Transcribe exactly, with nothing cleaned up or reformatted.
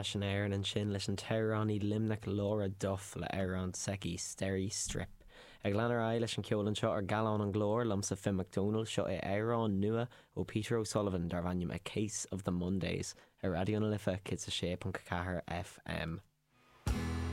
Ais in Éirinn ansin leis an t-amhránaí Luimneach Laura Duff le amhrán s'aici Steri Strip. Ag lean ar aghaidh leis an ceol anseo ar Gallán an Glór liomsa Finn McDonald seo é amhrán nua ó Peter O'Sullivan darb ainm A Case of the Mondays ar Raidió na Life céad a sé ponc ceathair FM.